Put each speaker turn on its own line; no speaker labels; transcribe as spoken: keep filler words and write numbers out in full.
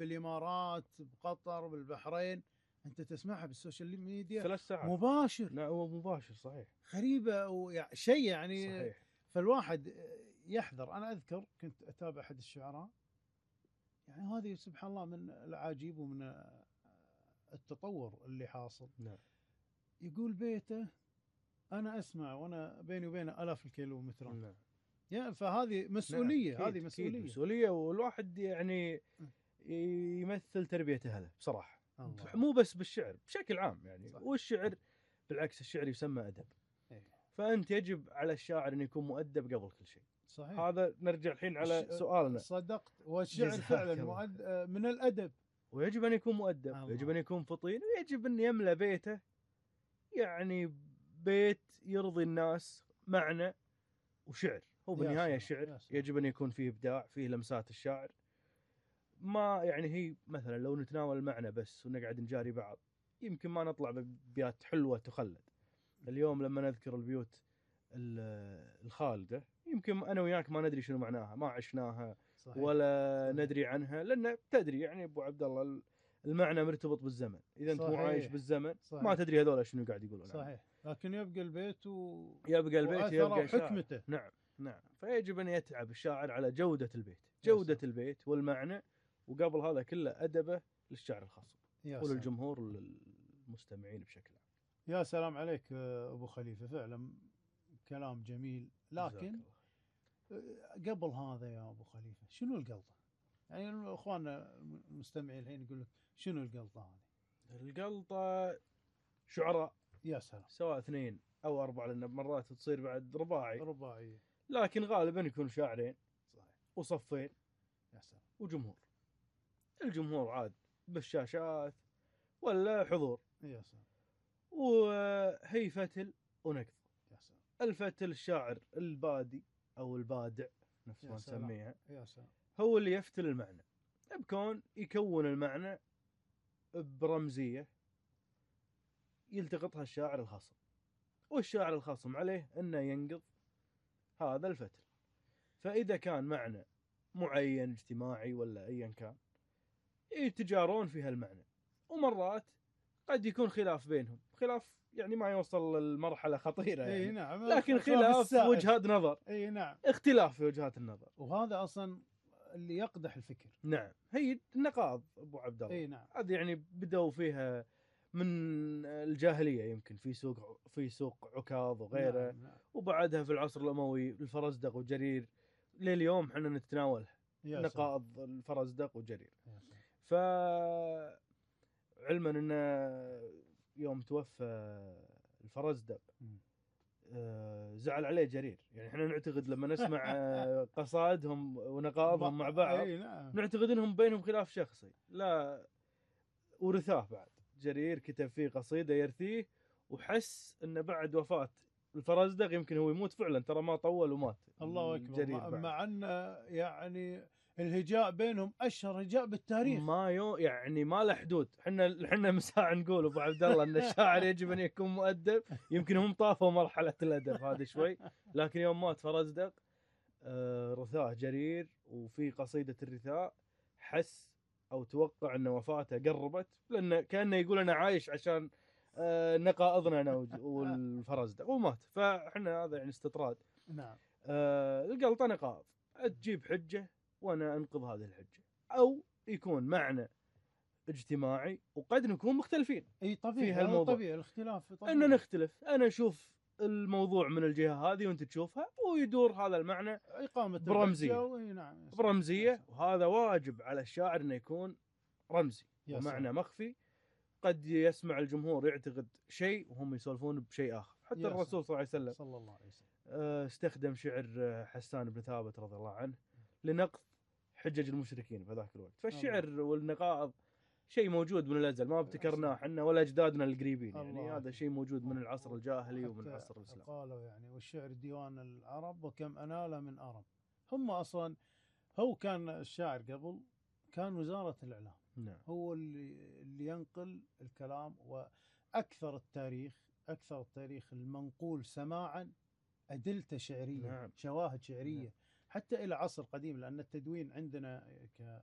بالامارات، بقطر، بالبحرين، انت تسمعها بالسوشيال ميديا
ثلاث ساعات
مباشر.
لا هو مباشر صحيح.
غريبه ويعني شيء يعني
صحيح.
فالواحد يحذر. انا اذكر كنت اتابع احد الشعراء، يعني هذه سبحان الله من العجيب ومن التطور اللي حاصل.
نعم.
يقول بيته انا اسمع وانا بيني وبينه الاف الكيلومترات.
نعم.
يعني فهذه مسؤوليه.
نعم.
هذه مسؤوليه
أكيد مسؤوليه، والواحد يعني يمثل تربيه اهله بصراحه. الله. مو بس بالشعر، بشكل عام يعني. صح. والشعر بالعكس، الشعر يسمى ادب. إيه. فانت يجب على الشاعر ان يكون مؤدب قبل كل شيء. صحيح. هذا نرجع الحين على سؤالنا.
صدقت. والشعر فعلا مؤد... من الادب.
ويجب ان يكون مؤدب، ويجب ان يكون فطين، ويجب ان يملأ بيته يعني بيت يرضي الناس، معنى وشعر. هو بالنهايه شعر، يجب ان يكون فيه ابداع، فيه لمسات الشاعر. ما يعني هي مثلا لو نتناول المعنى بس ونقعد نجاري بعض، يمكن ما نطلع بأبيات حلوه تخلد. اليوم لما نذكر البيوت الخالده، يمكن انا وياك ما ندري شنو معناها، ما عشناها. صحيح. ولا صحيح. ندري عنها، لان تدري يعني ابو عبد الله المعنى مرتبط بالزمن. اذا انت مو عايش بالزمن صحيح. ما تدري هذول شنو قاعد يقولون.
صحيح. لكن يبقى البيت و...
يبقى البيت يبقى
حكمته.
نعم نعم. فيجب ان يتعب الشاعر على جوده البيت، جوده البيت والمعنى، وقبل هذا كله ادبه للشعر الخاص وللجمهور وللمستمعين بشكل عام.
يا سلام عليك ابو خليفه، فعلا كلام جميل. لكن قبل هذا يا ابو خليفه، شنو القلطه؟ يعني اخواننا المستمعين الحين يقول لك شنو القلطه هذه؟
القلطه شعراء.
يا سلام.
سواء اثنين او اربعه، لان مرات تصير بعد رباعي.
رباعي.
لكن غالبا يكون شاعرين.
صحيح.
وصفين.
يا سلام.
وجمهور. الجمهور عاد بالشاشات ولا حضور.
يا سلام.
وهي فتل ونقد.
يا سلام.
الفتل الشاعر البادي او البادع نفس ما نسميها.
يا سلام.
هو اللي يفتل المعنى بكون يكون المعنى برمزيه يلتقطها الشاعر الخصم، والشاعر الخصم عليه انه ينقض هذا الفتل. فاذا كان معنى معين اجتماعي ولا ايا كان، يتجارون في هالمعنى، ومرات قد يكون خلاف بينهم، خلاف يعني ما يوصل للمرحله خطيره يعني.
اي نعم.
لكن خلاف وجهات نظر.
اي نعم.
اختلاف في وجهات النظر،
وهذا اصلا اللي يقدح الفكر.
نعم. هي النقاض ابو عبد الله.
اي نعم.
هذه يعني بدأوا فيها من الجاهليه، يمكن في سوق في سوق عكاظ وغيره.
نعم. نعم.
وبعدها في العصر الاموي الفرزدق وجرير، لليوم احنا نتناولها. نقاض الفرزدق وجرير. ف علما ان يوم توفى الفرزدق زعل عليه جرير. يعني احنا نعتقد لما نسمع قصائدهم ونقاضهم مع بعض نعتقد انهم بينهم خلاف شخصي، لا، ورثاه بعد. جرير كتب فيه قصيدة يرثيه، وحس ان بعد وفاة الفرزدق يمكن هو يموت فعلا، ترى ما طول ومات.
الله اكبر. مع ان يعني الهجاء بينهم اشهر هجاء بالتاريخ،
ما يو يعني ما له حدود. احنا احنا مساء نقول ابو عبد الله ان الشاعر يجب ان يكون مؤدب. يمكن هم طافوا مرحله الادب هذا شوي، لكن يوم مات فرزدق آه رثاه جرير، وفي قصيده الرثاء حس او توقع ان وفاته قربت، لانه كانه يقول انا عايش عشان آه نقائضنا انا والفرزدق، ومات. فاحنا هذا يعني استطراد.
نعم.
آه القلطه نقاض، تجيب حجه وانا انقض هذه الحجه، او يكون معنى اجتماعي وقد نكون مختلفين.
اي طبيعي،
في هالموضوع
طبيعي الاختلاف طبيعي.
ان نختلف، انا اشوف الموضوع من الجهه هذه وانت تشوفها، ويدور هذا المعنى
اقامه
برمزيه.
نعم.
برمزيه. وهذا واجب على الشاعر انه يكون رمزي ومعنى مخفي. قد يسمع الجمهور يعتقد شيء وهم يسولفون بشيء اخر. حتى الرسول صلى الله عليه وسلم
صلى الله عليه وسلم
استخدم شعر حسان بن ثابت رضي الله عنه لنقض حجج المشركين في ذاك الوقت. فالشعر الله. والنقائض شيء موجود من الازل، ما ابتكرناه احنا ولا اجدادنا القريبين. يعني هذا شيء موجود من العصر الجاهلي ومن عصر الاسلام.
قالوا يعني والشعر ديوان العرب وكم انال من ارب. هم اصلا هو كان الشاعر قبل كان وزارة الاعلام.
نعم.
هو اللي اللي ينقل الكلام، واكثر التاريخ اكثر التاريخ المنقول سماعا ادلته شعريه.
نعم.
شواهد شعريه. نعم. حتى الى عصر قديم، لان التدوين عندنا ك